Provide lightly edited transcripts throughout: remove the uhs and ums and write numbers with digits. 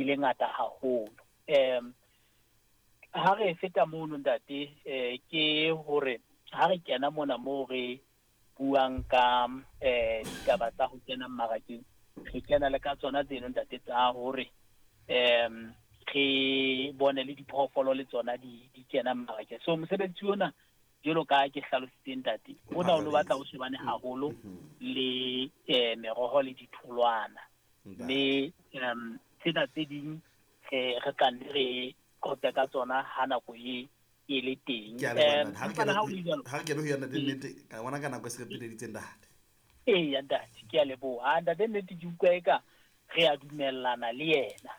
Le ngata haholo. Ha re feta mono ntate, ke hore ha re kena mona moo re buang ka ditaba tsa ho kena mmarakeng, re kena le ka tsona tseno ntate tsa hore re bone le diphoofolo le tsona di kena mmarakeng. So mosebetsi ona, jwalo ka ke hlalositse ntate, ona o no batla o shebane haholo le meroho le ditholwana. Mme tsena tse ding re tla nne re qoqe ka tsona ha nako e le teng. Ha re kene ho yona nnete, ka bona ka nako e se re peleditse ntate. Eya ntate, ke a leboha. Ntate nnete ke utlwa eka re a dumellana le yena.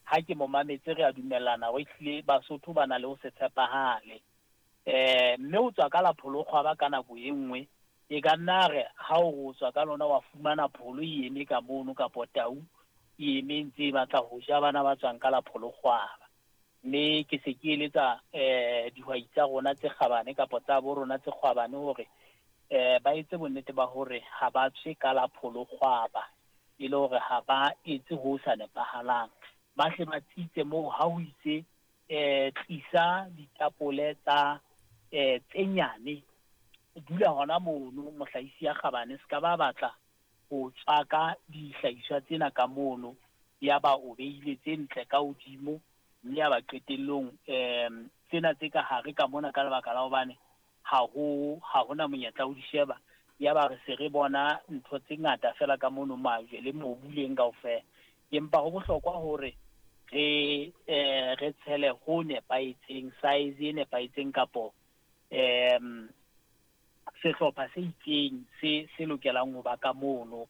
Ha ke mo mametse re a dumellana hore ehlile Basotho ba na le ho se tshepahale. Mme o tswa ka la pholokgwaba ka nako e nngwe, e ka nna re ha o tswa ka lona wa fumana pholo e eme ka mono kapo tau e eme ntse e batla ho ja bana ba tswang ka la pholokgwaba. Mme ke se ke eletsa dihwai tsa rona tse kgabane kapa tsa bo rona tse kgwabane hore ba etse bonnete ba hore ha ba tswe ka la pholokgwaba, e le hore ha ba etse ho sa nepahalang. Ba hle ba tsitse moo ha ho itse tlisa ditapole tsa tse nyane, dula hona mono mohlahisi ya kgabane, se ka ba batla ho tswaka dihlahiswa tsena ka mono, ya ba o beile tse ntle ka hodimo, mme ya ba qetellong tsena tse ka hare ka mona ka lebaka la hobane ha hona monyetla o di sheba, ya ba re se re bona ntho tse ngata fela ka mono, majwe le mobu leng kaofela. Empa ho bohlokwa hore re re tshele ho nepahetseng, size e nepahetseng kapo sehlopha se itseng se lokelang ho ba ka mono.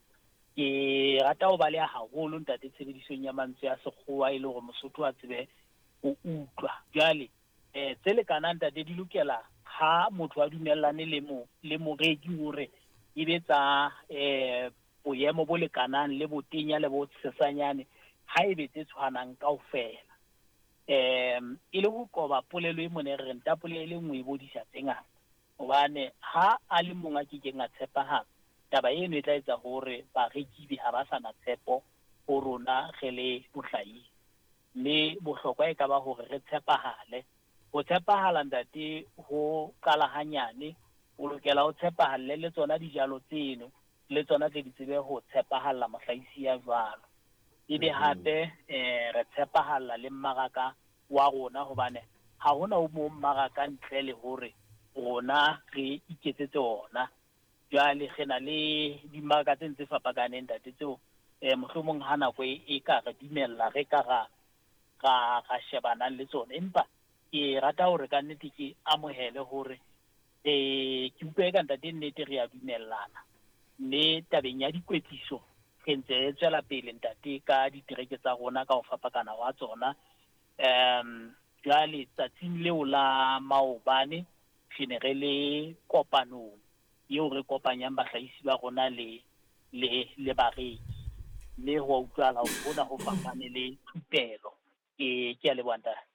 Ke rata ho baleha haholo ntate tshebedisong ya mantswe a sekgowa e le hore Mosotho a tsebe ho utlwa. Jwale tse lekanang ntate di lokela ha motho a dumellane le moreki hore e be tsa boemo bo lekanang le botenya le bo sesanyane, ha e be tse tshwanang kaofela. E le ho qoba polelo e mone re reng tapole e le nngwe e bodisa tse ngata, hobane ha a le mong a kekeng a tshepahala, taba eno e tla etsa hore bareki ha ba sa na tshepo ho rona re le mohlahisi. Mme bohlokwa e ka ba hore re tshepahale. Ho tshepahala ntate ho qala hanyane, o lokela ho tshepahalle le tsona dijalo tseno, le tsona tle di tsebe ho tshepahalla mohlahisi ya jwalo. Ebe hape re tshepahalla le mmaraka wa rona, hobane ha hona o mong mmaraka ntle le hore rona re iketsetse ona. Jwale re na le dimmaraka tse ntse fapakaneng ntate tseo mohlomong ha nako e ka re dumella re ka ra shebanang le tsona. Empa ke rata hore ka nnete ke amohele hore ke utlwe ka ntate nnete re a dumellana. Mme tabeng ya dikwetliso re ntse re tswela pele ntate ka ditereke tsa rona ka ho fapakana wa tsona. Jwale tsatsing leo la maobane re ne re le kopanong eo re kopanyang bahlahisi ba rona le bareki, mme ho a utlwahala hore hona ho fapane le thupelo. Ke a leboha ntate.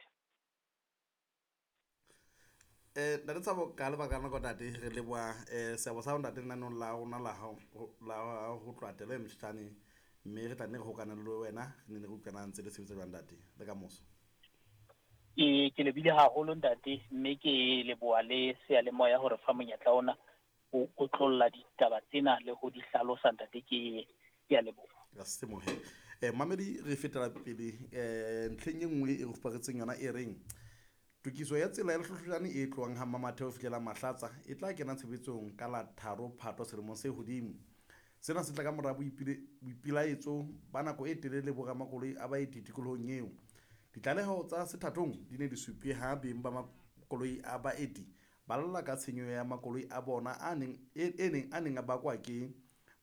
Ntate Thabo, ka lebaka la nako ntate, re leboha seabo sa hao ntate lenaneong la rona la ho tloha telo e motjhane, mme re tla nne re hokane le wena, re nne re utlwana ntse le sebetsa jwang ntate le ka moso. Ke lebile haholo ntate, mme ke leboha le seyalemoya hore fa monyetla ona o otlolla ditaba tsena le ho di hlalosa ntate, ke a leboha. Ka semohe. Mamedi, re fetela pele ntlheng e nngwe e re fuparetseng yona e reng tokiso ya tsela ya Lehlohlojane e tlohang ha Mmamathe ho fihlela Mahlatsa e tla kena tshebetsong ka la 3 Phato selemong se hodimo. Sena se tla ka mora boipelaetso ba nako e telele bo ramakoloi a baeti tikolohong eo. Ditlaleho tsa sethathong di ne di supile ha beng ba makoloi a baeti ba lla ka tshenyo ya makoloi a bona a neng a bakwa ke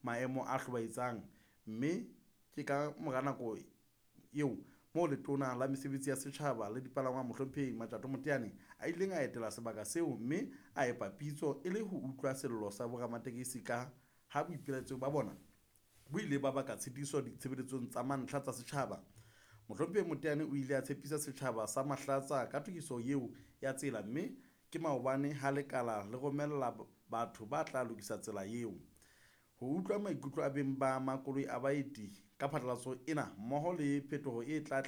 maemo a hlobaetsang, mme ke ka mora nako eo moo letona la mesebetsi ya setjhaba le dipalangwang mohlomphehi Matjato Moteane a ileng a etela sebaka seo mme a epa pitso e le ho utlwa sello sa boramatekesi ka ha boipelaetso ba bona bo ile ba baka tshitiso ditshebeletsong tsa mantlha tsa setjhaba. Mohlomphehi Moteane o ile a tshepisa setjhaba sa Mahlatsa ka tokiso eo ya tsela, mme ke maobane ha lekala le romella batho ba tla lokisa tsela eo. Ho utlwa maikutlo a beng ba makoloi a baeti Ka phatlalatso ena mmoho le phetoho e tla